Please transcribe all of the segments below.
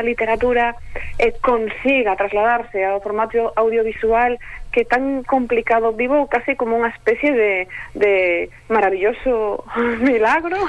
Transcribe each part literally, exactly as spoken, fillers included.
literatura eh, consiga trasladarse ao formato audiovisual, que tan complicado, vivo casi como unha especie de, de maravilloso milagro.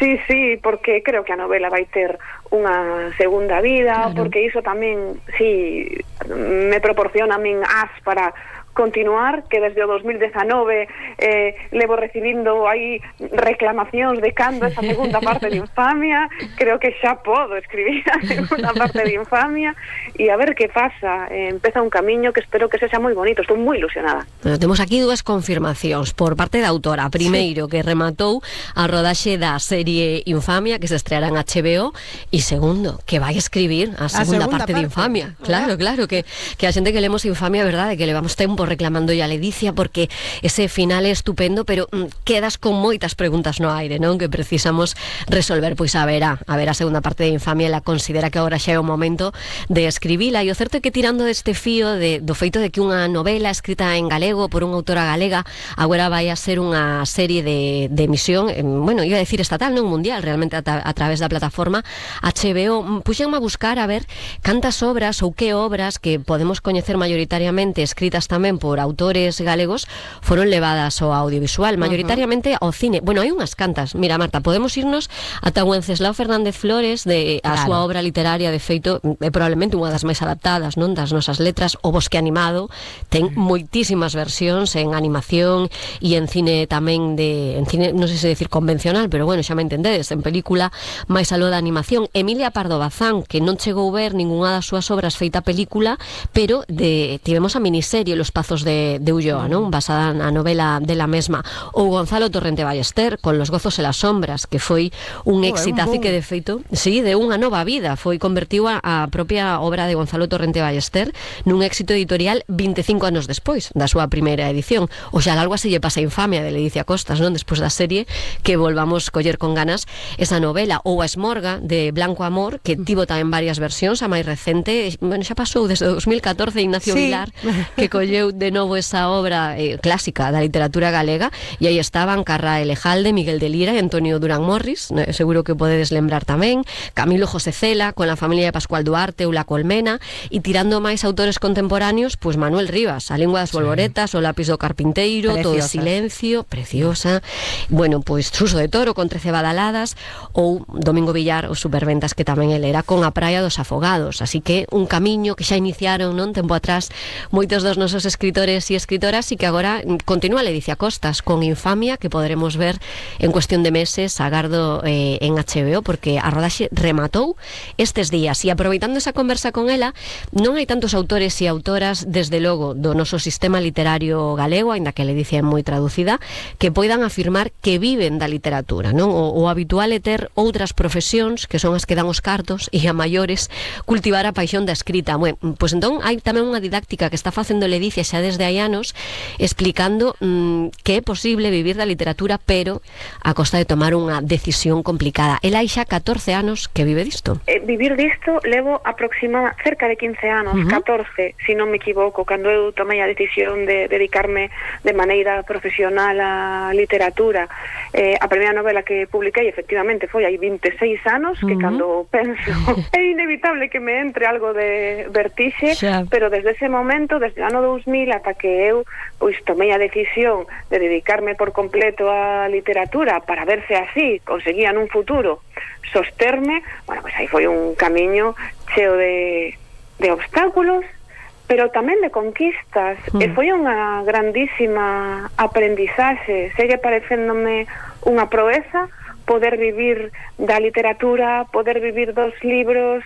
Sí, sí, porque creo que a novela vai ter unha segunda vida, claro. Porque iso tamén, sí, me proporciona a min as para continuar, que desde o dos mil dezanove eh, levo recibindo aí reclamacións de cando esa segunda parte de Infamia. Creo que xa podo escribir a segunda parte de Infamia e a ver que pasa. Eh, empeza un camiño que espero que sexa moi bonito. Estou moi ilusionada. Bueno, temos aquí dúas confirmacións por parte da autora. Primeiro, sí, que rematou a rodaxe da serie Infamia, que se estreará en H B O, e segundo, que vai escribir a segunda, a segunda parte, parte de Infamia. Claro, claro, que, que a xente que lemos Infamia, verdade, que levamos tempo reclamando ya a Ledicia porque ese final é estupendo, pero mm, quedas con moitas preguntas no aire, non? Que precisamos resolver. Pois a ver, a, a ver a segunda parte de Infamia, ela considera que agora xa é o momento de escribila, e o certo é que tirando deste fío de, do feito de que unha novela escrita en galego por unha autora galega agora vai a ser unha serie de, de emisión, eh, bueno, iba a decir estatal, non mundial, realmente a, a través da plataforma H B O, puxenme a buscar a ver cantas obras ou que obras que podemos coñecer mayoritariamente escritas tamén por autores galegos foron levadas ao audiovisual, mayoritariamente ao cine. Bueno, hai unhas cantas. Mira, Marta, podemos irnos ata Wenceslao Fernández Flores, de a claro. súa obra literaria, de feito, é probablemente unha das máis adaptadas, non, das nosas letras. O Bosque Animado ten moitísimas versións en animación e en cine tamén de, en cine, non sei se decir convencional, pero bueno, xa me entendedes, en película máis aló da animación. Emilia Pardo Bazán, que non chegou ver ningunha das súas obras feita película, pero de, tivemos a miniserie Los Pazos de de Ulloa, non? Basada na novela de la mesma. Ou Gonzalo Torrente Ballester con Los Gozos e las Sombras, que foi un exitazo e que de feito, sí, de unha nova vida, foi convertiu a, a propia obra de Gonzalo Torrente Ballester nun éxito editorial vinte e cinco anos despois da súa primeira edición. O xa algo así lle pasa a Infamia de Ledicia Costas, non? Despois da serie, que volvamos coller con ganas esa novela. Ou a Esmorga de Blanco Amor, que tivo tamén varias versións, a máis recente, bueno, xa pasou desde dos mil catorce, Ignacio sí. Vilar, que colleu de novo esa obra eh, clásica da literatura galega, e aí estaban Carra Elejalde, Miguel de Lira e Antonio Durán Morris, eh, seguro que podedes lembrar tamén, Camilo José Cela con la familia de Pascual Duarte ou La Colmena, e tirando máis autores contemporáneos, pois Manuel Rivas, A Lingua das Bolboretas, sí. O Lápis do Carpinteiro, Preciosa. Todo o Silencio, preciosa, bueno, pois Suso de Toro con trece badaladas, ou Domingo Villar, os Superventas, que tamén ele era con A Praia dos Afogados. Así que un camiño que xa iniciaron, non, tempo atrás, moitos dos nosos escritores e escritoras, e que agora continúa Ledicia Costas con Infamia, que poderemos ver en cuestión de meses, agardo eh, en H B O, porque a rodaxe rematou estes días. E aproveitando esa conversa con ela, non hai tantos autores e autoras, desde logo, do noso sistema literario galego, aínda que a Ledicia é moi traducida, que poidan afirmar que viven da literatura, non? O, o habitual é ter outras profesións, que son as que dan os cartos, e a maiores cultivar a paixón da escrita. Bueno, pois entón hai tamén unha didáctica que está facendo Ledicia xa desde hai anos, explicando mmm, que é posible vivir da literatura, pero a costa de tomar unha decisión complicada. Ela hai xa catorce anos que vive disto. Eh, vivir disto levo aproximada cerca de quince anos, uh-huh. catorce, se non me equivoco, cando eu tomei a decisión de dedicarme de maneira profesional á literatura. Eh, a primeira novela que publiquei, efectivamente, foi hai vinte e seis anos, uh-huh. que cando penso é inevitable que me entre algo de vertixe, xa. Pero desde ese momento, desde o ano dous mil ata que eu pois tomei a decisión de dedicarme por completo á literatura para ver se así conseguía nun futuro sosterme, bueno, pois aí foi un camiño cheo de, de obstáculos, pero tamén de conquistas, mm. e foi unha grandísima aprendizaxe. Segue parecéndome unha proeza poder vivir da literatura, poder vivir dos libros,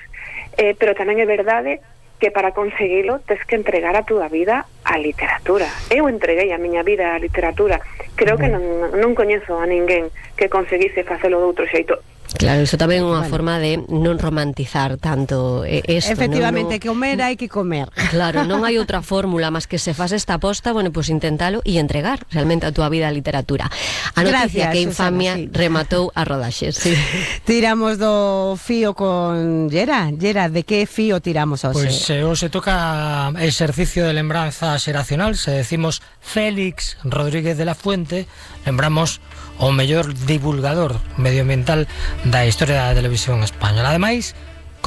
eh, pero tamén é verdade que para conseguilo tes que entregar a túa vida á literatura. Eu entreguei a miña vida á literatura. Creo que non, non coñezo a ninguén que conseguise facelo de outro xeito. Claro, iso tamén é unha bueno. forma de non romantizar tanto isto. Efectivamente, non, que comer hai que comer. Claro, non hai outra fórmula máis que se faz esta aposta, bueno, pois pues intentalo e entregar realmente a túa vida á literatura. A noticia Gracias, que Infamia Susana, sí. rematou a rodaxe. Sí. Tiramos do fío con Yera. Yera, de que fío tiramos hoxe? Pois pues, eh, hoxe toca exercicio de lembranza xeracional. Se decimos Félix Rodríguez de la Fuente, lembramos o mellor divulgador medioambiental da historia da televisión española. Ademais,